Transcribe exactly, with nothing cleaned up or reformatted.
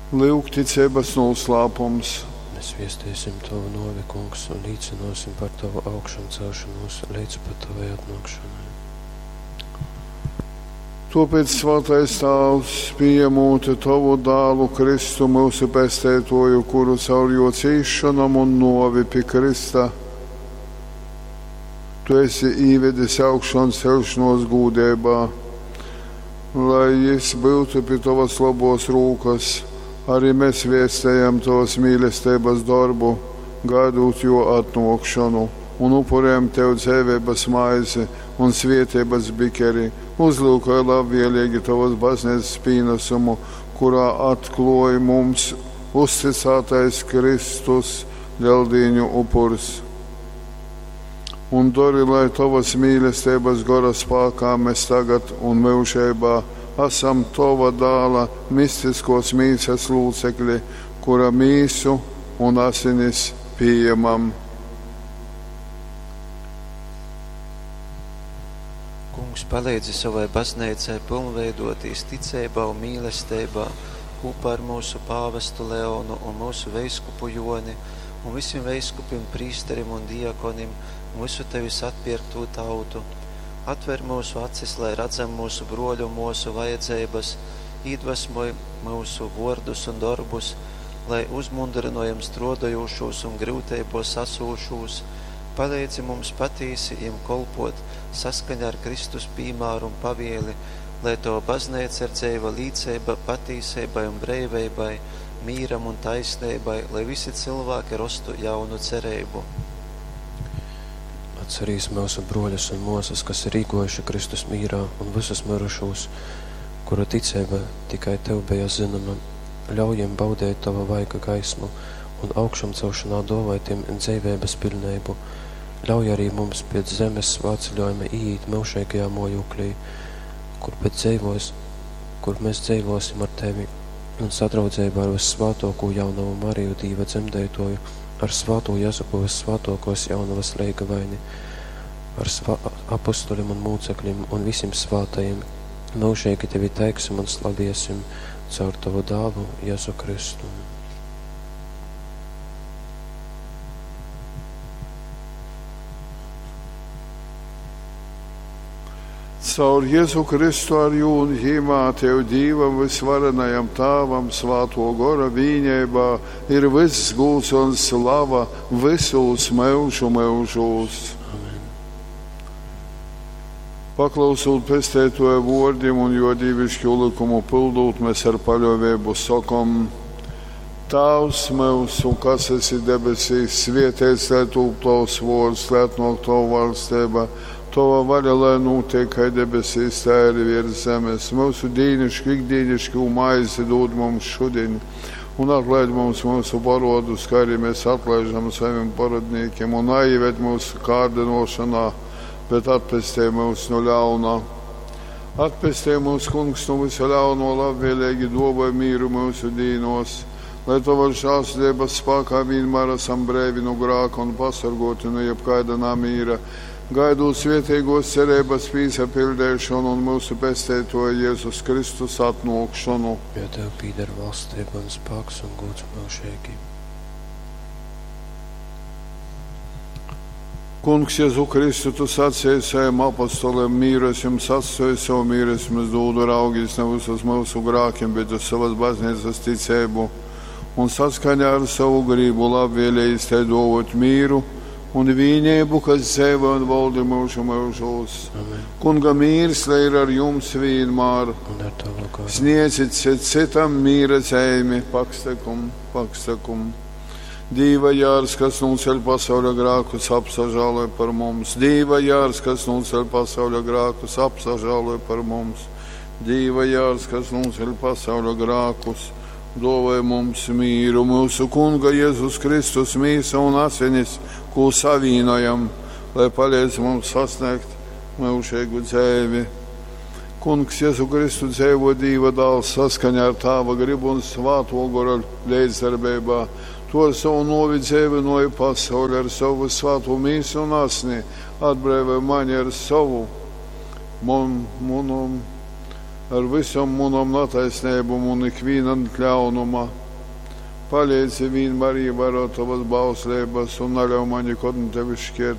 Lyugticeibas nūslāpums. Mēs viesteisim Tovu nōvi, Kungs, un līcynōsim par Tovu augšamcelšonūs leidz pat Tovai atnōkšonai. Tōpēc, svātais Tāvs, pījemūt Tovu dālu Kristu, myusu Pesteitōju, kuru caur jō cīsšonom un nōvi pi krysta Tu esi īvedis augšancelšanos gūdeibā, lai jis byutu pi Tovas lobōs rūkas, arī mēs vēstējam Tovas mīlesteibas dorbu, gaidot jō atnōkšonu, un upurējam Tev dzeiveibas maizi un svietības bikeri. Uzlūkoj labvēlīgi Tovas bazneicas pīnesumu, kurā atklōj mums uzticātais Kristus Leldīņu upurs. Un dori, lai Tovas mīlesteibas gora spākā mēs tagad un myužeibā esam Tova dāla mistiskos mīsas lūcekļi, kura mīsu un asinis pieņemam. Kungs, palīdzi savai bazneicai pilnveidotīs ticeibā un mīlesteibā kopā ar mūsu pāvestu Leonu un mūsu veiskupu Joni un visiem veiskupim, prīsterim un diakonim un visu tevis atpirkto tautu. Atver mūsu acis, lai redzam mūsu broļu un mūsu vajadzības, iedvesmoj mūsu vārdus un darbus, lai uzmundrinojam strādājošos un grūtībos asūšos, palīdzi mums patīsi jiem kolpot saskaņā ar Kristus piemēru un pavieli, lai Tava baznīca ir dzeiva līdzība patīsībai un breivībai, mīram un taisnībai, lai visi cilvēki rastu jaunu cerību. Atcerīs mūsu broļus un mūsas, kas ir īgojuši Kristus mīrā, un visus mirušos, kuru ticība tikai Tev bija zināma. Ļauj jiem baudīt Tava vaiga gaismu un augšamcelšanā dāvāj tiem dzīvības pilnību. Ļauj arī mums pēc zemes svētceļojuma ieiet mūžīgajā mojūklī, kur pēc dzīvos, kur mēs dzīvosim ar Tevi un sadraudzībā ar Vissvētāko jaunavu Mariju Dīva dzemdētoju, ar svāto Jezupu Vissvētākos jaunavas leigavaini, ar svā apustuļiem un mūcekļiem un visiem svātajiem, mūžīgi Tevi teiksim un slaviesim caur Tavu dālu Jēzu Kristu. Caur Jēzu Kristu ar jū un ģīmā Tev Dīvam visvarenajam Tāvam svāto gora vīņībā ir viss gūts un slava visos mūžu mūžos. Amen. Paklausot pestētoja vārdiem un jo dīvišķu likumu pildot, mēs ar paļāvību sakom: Tēvs mūsu, kas esi debesīs, svētīts lai tūp tavs vārds, lai atnāk tava valstība. Tava vaļa, lai notiek kā debesīs, tā arī virs zemes. Mūsu dīnišķi, ikdienišķi maizi dod mums šodien, un atlaid mums mūsu parodus, kā arī mēs atlaižam saviem parodniekiem, un neieved mūsu kārdinošanā, bet atpestī mūs no ļaunā. Atpestī mūs, Kungs, no visa ļauno, labvēlīgi dāvāj mīru mūsu dīnos, lai Tava žēlsirdības spēkā vienmēr esam brīvi no grāka un pasargoti no jebkāda namīra, gaidot svētīgos cerības pīsapildēšanu un mūsu pestētoja Jēzus Kristus atnākšanu. Jo Tev pīder valstība un spēks un gods mūžīgi. Kungs, Jēzu Kristu, Tu sacīji saviem apostoliem, mīru es jums atstāju, savu mīru es jums dodu, raugīs nevis uz mūsu grākiem, bet uz savas baznīcas ticību, un saskaņā ar savu gribu labvēlējis te dovot mīru un vienību, kas dzīvo un valda mūžu mūžos. Amen. Kunga mīrs, lai ir ar jums vienmēr. Un ar Tavu garu. Sniedzit citam mīra zīmi, pakstekum, pakstekum. Dīva jārs, kas nūceļ pasauļa grākus, apsažāloj par mums. Dīva jārs, kas nūceļ pasauļa grākus, apsažāloj par mums. Dīva jārs, kas nūceļ pasauļa grākus, dāvāj mums mīru. Mūsu Kunga Jēzus Kristus mīsa un asinis, ko savīnojam, lai palīdz mums sasniegt mūžīgu dzīvi. Kungs Jēzu Kristu dzīvo Dīva dāls saskaņā ar Tāva gribu un svāto gora līdzdarbībā. To ar savu novi dzīvinoju pasauli, ar savu svāto mīsu un asni, atbrīvoja mani ar savu mon, munum, ar visam munam nataisnībum un ikvīna ļaunuma. Paleidzi vīnmār īvārōt tovas bausleibas un naļauj maņ nikod nu tevis škērtīs.